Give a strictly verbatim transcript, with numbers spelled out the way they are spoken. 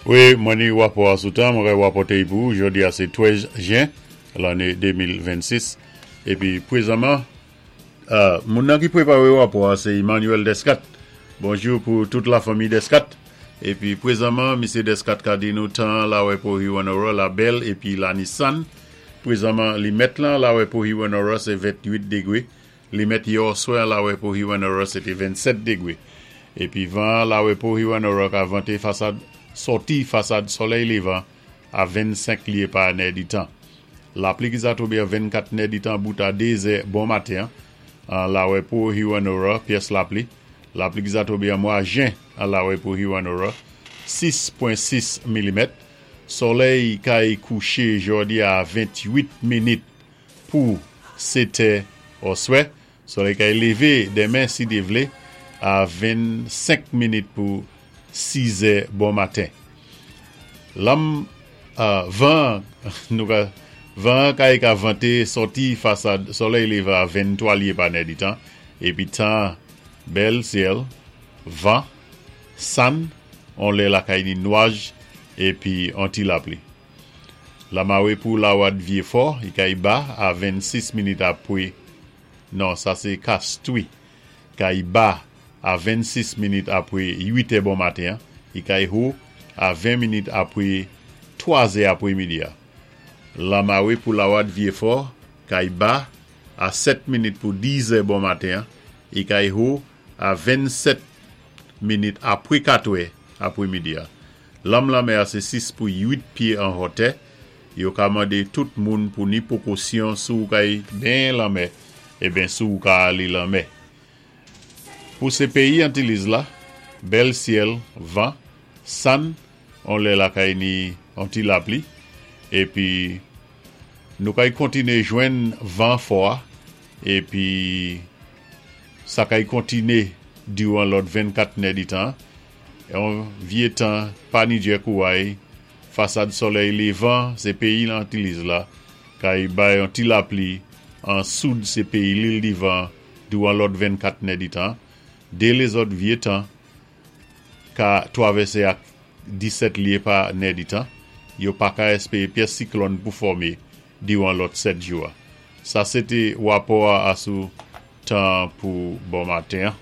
Wi, mwen ni wapò a sou tan, mwen kay wapòté pou, jòdi a sé twèz jen, lanné de mil vennsis. Épi pwézanman, euh, moun nan ki pwépawé wapò a, sé Emmanuel Descat. Bonjou pou tout la fanmi Descat. Épi pwézanman, Misyé Descat ka di nou tan la wè pou Hewanorra, la bèl, épi la ni sann. Pwézanman, li mèt lan la wè pou Hewanorra, sé ventuit dégwé. Li mèt yè oswè la wè pou Hewanorra, sété vennsèt dégwé. Épi van la wè pou Hewanorra ka vanté fasad sòti fasad solèy lévan a vennsenk lyé pa nèditan. Lapli ki za tonbé a vennkat nèditan bout a dé zè bon maten an la wè pou Hewanorra, pyès lapli. Lapli ki za tonbé an mwa jen an la wè pou Hewanorra, sis pwen sis milimèt. Solèy kay kouché jòdi a ventuit minit pou sétè oswè. Solèy kay lévé denmen si Dye vlé a vennsenk minit pou sizè bon maten. Lanm euh, van nou ka van kay ka vanté sòti fasad solèy lévan a venntwa lyé pa nèditan, épi tan bèl syèl, van, sann, on lè lakay ni nwaj épi an ti lapli. Lamawé pou Lawad Vyéfò, i kay ba a vennsis minit apwé, non, sa sé Kastwi, kay ba a vennsis minit apwé uit è bon maten, i kay ho a ven minit apwé twazè apwé midi a. Lamawé pou Lawad Vyéfò, kay ba a sèt minit pou diz è bon maten, i kay ho a vennsèt minit apwé katwè apwé midi a. Lanm lanmè a sé sis pou uit pyé an hotè, yo ka mandé tout moun pou ni pwékosyon sou kay benyen lanmè, é ben sou ka ali lanmè. Pou sé péyi Antiliz la, bèl syèl, van, sann, on lè lakay ni an ti lapli, épi nou kay kontiné jwenn van fò a, épi sa kay kontiné diwan lòt vennkat nèditan, yon vyé tan pa ni djè kouway, fasad solèy lévan sé péyi Antiliz la, kay bay an ti lapli, an soud sé péyi Lil Divan diwan lòt vennkat nèditan, dé lézòt vyé tan ka twavèsé ak disèt lyé pa nèditan, yo pa ka èspéwé pyès siklòn pou fòmé diwan lòt sèt jou a. Sa sété wapò a asou tan pou bon maten.